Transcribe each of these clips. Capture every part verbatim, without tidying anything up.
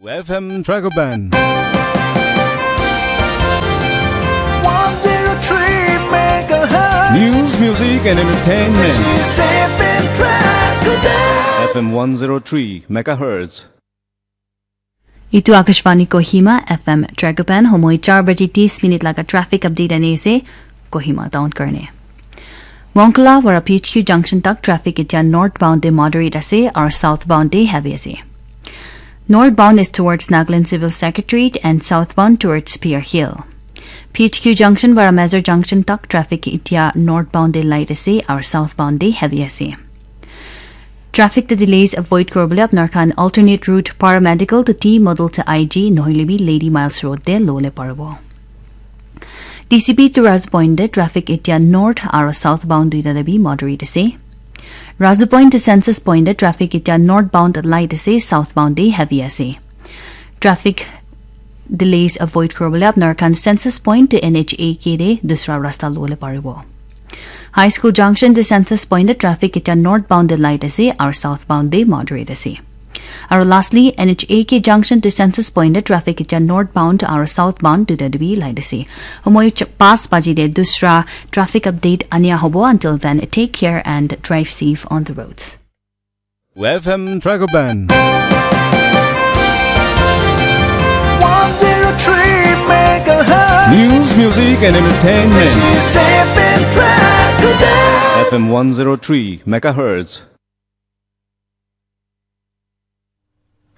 F M Dragoban. one zero three megahertz. News, music, and entertainment. This is F M Dragoban. F M one zero three megahertz. Itu Akashvani Kohima, F M Dragoban, homoi char baji tis minute laga traffic update ani ase, Kohima town karne. Monkala wara P H Q junction tak traffic itya northbound de moderate ase, aru southbound de heavy ase. Northbound is towards Nagaland Civil Secretariat and southbound towards Pier Hill. P H Q junction wara Mazar junction tak traffic itya northbound de light ase, aru southbound de heavy ase. Traffic te delays avoid kuribole apnar khan alternate route Paramedical to T Model to I G nohile bi Lady Miles Road te lole paribo. T C P to Razu Point te traffic itya north aru southbound duita te bi moderate ase. Razu Point to Census Point te traffic itya northbound light ase, southbound te heavy ase. Traffic delays avoid kuribole apnar khan Census Point to N H A K te dusra rasta lole paribo. High School Junction to Census Point te traffic itya northbound te light ase aru southbound te moderate ase. Aru lastly, N H A K Junction to Census Point te traffic itya northbound aru southbound duita te bi light ase. Homoi ch-, pas baji te dusra traffic update ania hobo. Until then, take care and drive safe on the roads. F M Dragoban. one zero three megahertz. News, music, and entertainment. This is F M Dragoban. F M one zero three megahertz.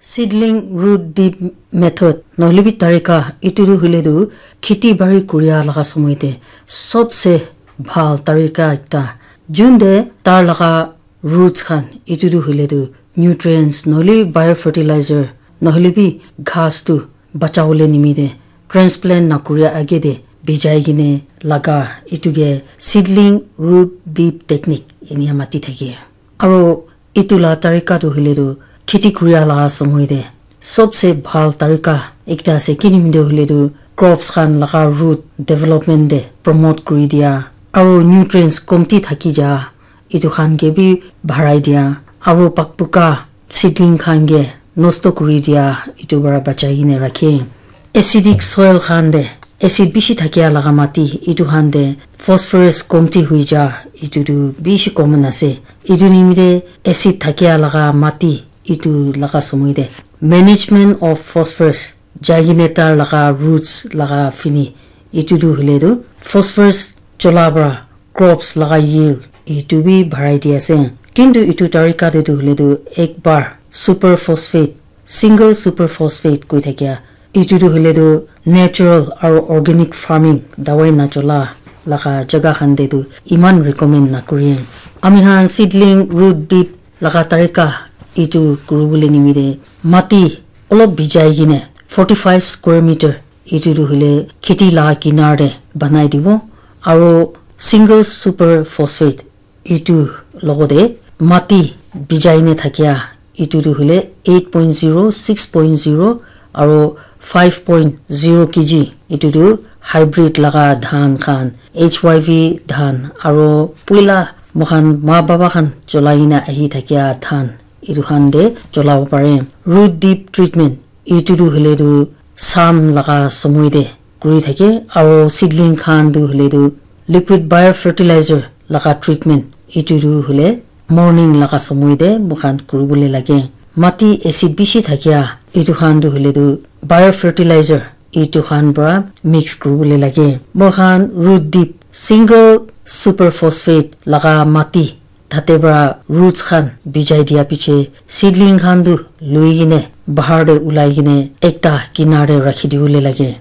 Seedling root dip method, nohole bi tarika, itu tu hoile tu kheti bari kuria laga somoi te sobse bhal tarika ekta. Jun te tar laga roots khan, itu tu hoile tu nutrients, nohole biofertilizer, nohole bi ghas tu bachawole nimite transplant nakuria age te bijai kene laga, itu ke seedling root dip technique enia mati thake. Aro itu la tarika tu hoile tu kheti kuria la somoi te sobse bhal tarika ekta ase, kinimde hoile tu crops khan laga root development te promote kuri dia, aro nutrients komti thaki ja, itu khan ke bi bharai dia, aro pakpuka seedling khan ke nosto kuri dia, itu para bachai kene rakhe. Acidic soil khan te, acid bishi thakia laga mati, itu khan te phosphorus komti hui ja, itu tu bishi common ase. Itu nimite acid thakia laga mati, itu laga somoi te management of phosphorus, jai kene tar laga roots laga fini, itu tu hoile tu phosphorus chola para crops laga yield itu bi bharai di ase. Kintu itu tarika te tu hoile tu ek bar super phosphate, single super phosphate koi thakia, itu tu hoile tu natural aro organic farming, dawai nachola laga jaga khan te tu iman recommend nakuriye. Ami khan seedling root dip laga tarika itu kuribole nimite mati olop bijai kene forty five square meter itu tu hoile kheti la kinar te banai dibo, aro single super phosphate itu logote mati bijai ne thakia itu tu hoile eight point zero, six point zero aro five point zero K G, itu tu hybrid laga dhan khan, H Y V dhan, aro puila moikhan ma baba khan cholai na ahi thakia dhan, itu khan te cholabo pare. Root dip treatment, itu tu hoile tu sam laga somoi te kuri thake, aro seedling khan tu hoile tu liquid biofertilizer laga treatment, itu tu hoile morning laga somoi te moikhan kuribole lage. Mati acid bishi thakia, itu khan tu hoile tu biofertilizer itu khan para mix kuribole lage. Moikhan root dip single super phosphate laga mati tate para roots khan bijai dia piche seedling khan tu lui kene bahar te ulai kene ekta kinar te rakhi dibole lage.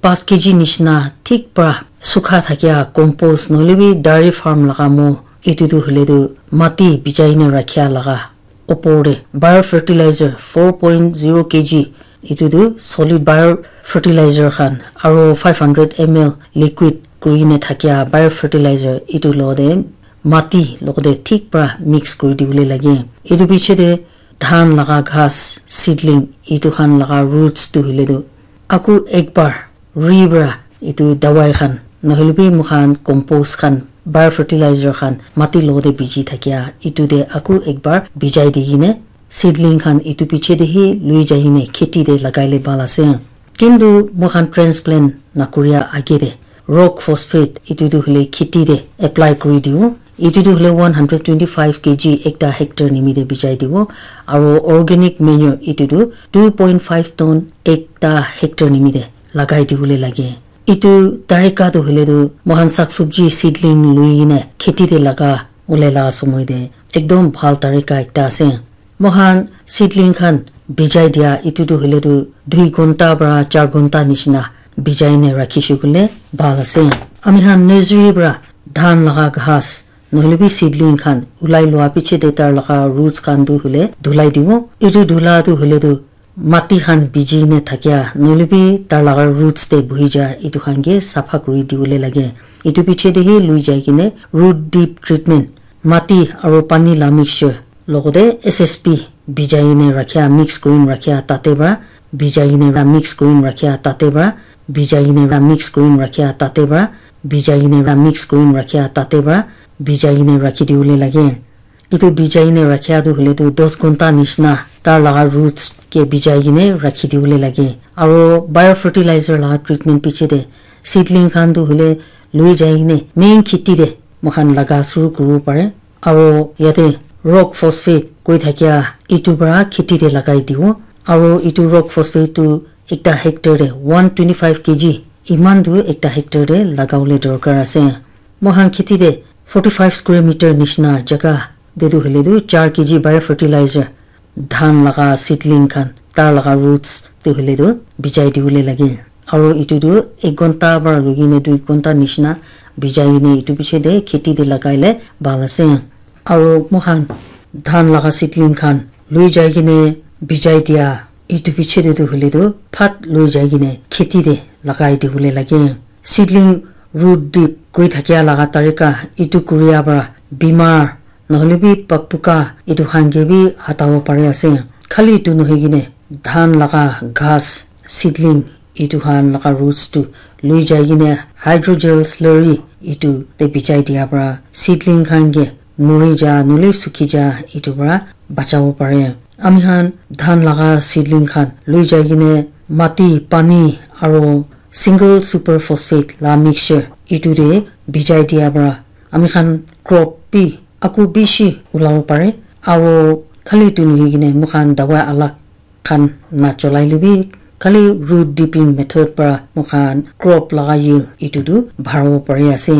Paanch K G nishina thik para sukha thakia compost nohole bi dairy farm laga mo, itu tu hoile tu mati bijai ne rakhia laga opor te biofertilizer four point zero K G, itu tu solid biofertilizer khan, aro five hundred M L liquid kuri ne thakia biofertilizer itu logote mati logote thik para mix kuri dibole lage. Itu piche te dhan laga ghas seedling itu khan laga roots tu hoile tu aku ek bar ri para itu dawai khan, nohole bi moikhan compost khan, biofertilizer khan mati logote biji thakia, itu te aku ek bar bijai di kene seedling khan etu piche te hi lui jai kene kheti te lagai le bhal ase. Kintu moi khan transplant na kuria age te rock phosphate etu tu hoile kheti te apply kuri dibo. Etu tu hoile one hundred twenty five K G ekta hectare nimite bijai dibo. Aro organic manure etu tu two point five ton ekta hectare nimite lagai dibole lage. Etu tarika tu hoile tu moi khan sak sabji seedling lui kene kheti te laga bole la somoi te ekdom bhal tarika ekta ase. Moi khan seedling khan bijai dia etu tu hoile tu dui ghonta para char ghonta nishina bijai ne rakhi shey koile bhal ase. Ami khan nursery para dhan laga ghas nohoile bi seedling khan ulai lua piche te tar laga roots khan tu hoile dhulai dibo. Etu dhula tu hoile tu mati khan biji ne thakia nohoile bi tar laga roots te buhi ja etu khan ke sapha kuri dibole lage. Etu piche te hi lui jai kene root dip treatment, mati aro pani la mixture logote S S P bijai kene rakhia mix kuri kene rakhia tate para bijai kene ra mix kuri kene rakhia tate para bijai kene ra mix kuri kene rakhia tate para bijai kene ra mix kuri kene rakhia tate para bijai kene rakhi dibole lage. Etu bijai kene rakhia tu hoile tu dos ghonta nishina tar laga roots ke bijai kene rakhi dibole lage. Aro biofertilizer laga treatment piche te seedling khan tu hoile lui jai kene main kheti te moi khan laga shuru kuribo pare. Aro yate rock phosphate koi thakia etu para kheti te lagai dibo. Aro etu rock phosphate tu ekta hectare te one twenty five K G eman tu ekta hectare te lagabole dorkar ase. Moi khan kheti te forty five square meter nishina jaga te tu hoile tu char K G biofertilizer dhan laga seedling khan tar laga roots tu hoile tu bijai dibole lage. Aro etu tu ek ghonta para lui kene dui ghonta nishina bijai kene etu piche te kheti te lagai le bhal ase. Aro moi khan dhan laga seedling khan lui jai kene bijai dia etu piche te tu hoile tu phat lui jai kene kheti te lagai dibole lage. Seedling root dip koi thakia laga tarika etu kuria para bimar nohoile bi pakpuka etu khan ke bi hatabo pari ase. Khali etu nohoi kene dhan laga ghas seedling etu khan laga roots tu lui jai kene hydrogel slurry etu te bijai dia para seedling khan ke muri ja nohoile sukhi ja etu para bachabo pare. Ami khan dhan laga seedling khan lui jai kene mati, pani aro single super phosphate la mixture etu te bijai dia para ami khan crop bi aku bishi ulabo pare. Aro khali etu nohoi kene moi khan dawai alak khan na cholai le bi khali root dipping method para moi khan crop laga yield etu tu bharabo pari ase.